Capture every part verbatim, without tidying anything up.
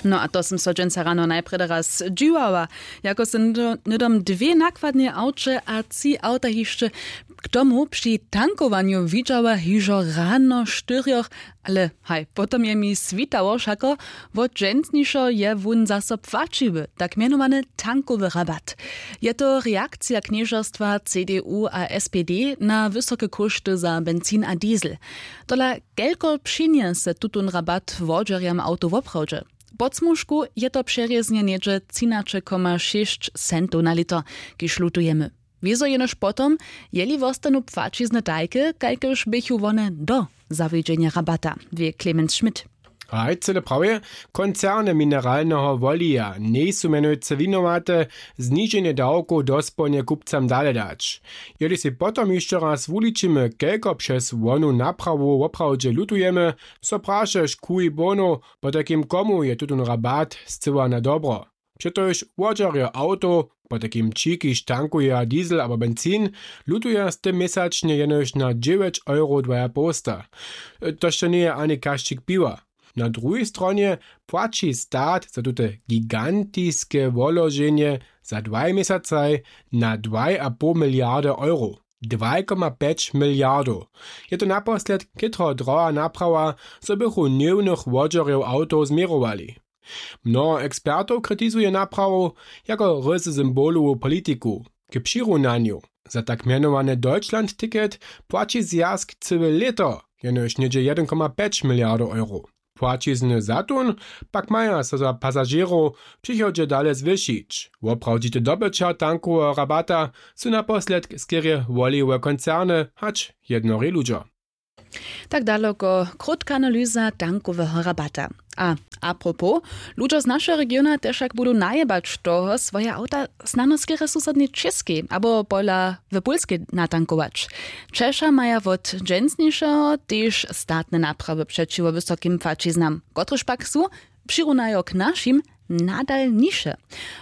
No a to sym so dźensa rano najprjedy raz dźiwała, jako sym hnydom dwě nakładnje awče a tři awta hišće k tomu při tankowanju widźała hižo rano štyrjoch. Ale haj, potom je mi switało wšako, wot dźensnišeho je wón zaso płaćiwy, tak mjenowany tankowy rabat. Je to reakcija knježerstwa cdu a spd na wysoke kóšty za benzin a diesel. Tola kelko přinjese tutón rabat wodźerjam awtow woprawdźe? Pod smužku je to přerěznje něhdźe třinaće koma šěsć centow na lěto, kiž lutujemy. Wězo jenož potom, jeli wostanu płaćizny tajke, kajkež běchu wone do zawjedźenja rabata, wě clemens schmidt. Haj, cyle prawje. Koncerny mineralneho wolija njejsu mjenujcy winowate, zniženje dawkow dospołnje kupcam dale dać. Jeli sej potom hišće raz wuličimy, kelko přez wonu naprawu woprawdźe lutujemy, so prašeš kuj bono, potajkim komu je tutón rabat scyła na dobro. Přetož wodźerjo awtow, potajkim ći kiž tankuja diesel abo benzin, lutuja z tym měsačnje jenož na dźewjeć euro dwajapołsta. To što njeje ani kašćik piwa. Na druhej stronje płaći stat za tute gigantiske woloženje za dwaj měsacaj na dwaj a poł miliardy euro. Dwaj koma pjeć miliardow. Je to naposledk chětro droha naprawa, zo bychu hněwnych wodźerjow awtow změrowali. Mnoho ekspertow kritizuje naprawu jako ryzy symbolowu politiku. K přirunanju, za tak mjenowane deutschland ticket płaći zwjazk cyłe lěto, jenož něhdźe jedyn koma pjeć miliardow euro. Płaćizny za tón pak maja so za pasažěrow w přichodźe dale zwyšić. Woprawdźite dobyćer tankoweho rabata su naposledk skerje woliłe koncerny hač jednori ludźo. Tak daloko krótka analyza tankoweho rabata. A apropos, ludźo z našeho regiona tež wšak budu najebać toho swoje awta snano skerje w susodnej čěskej abo pola w pólskej natankować. Češa maja wot dźensnišeho tež statne naprawy přećiwo wysokim płaćiznam, kotrež pak su, přirunajo k našim, nadal niše.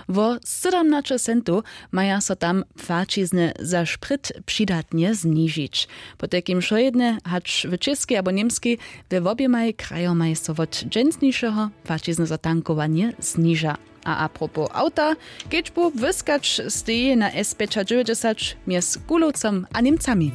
Wo sydomnaće centow maja so tam płaćizny za šprit přidatnje znižić. Potajkim wšojedne hač w čěskej abo němskej, we woběmaj krajomaj so wot dźensnišeho płaćizny za tankowanje zniža. A apropos awta, kedźbu wyskać steji na s pjećadźewjećdźesat mjez kulowcom a němcami.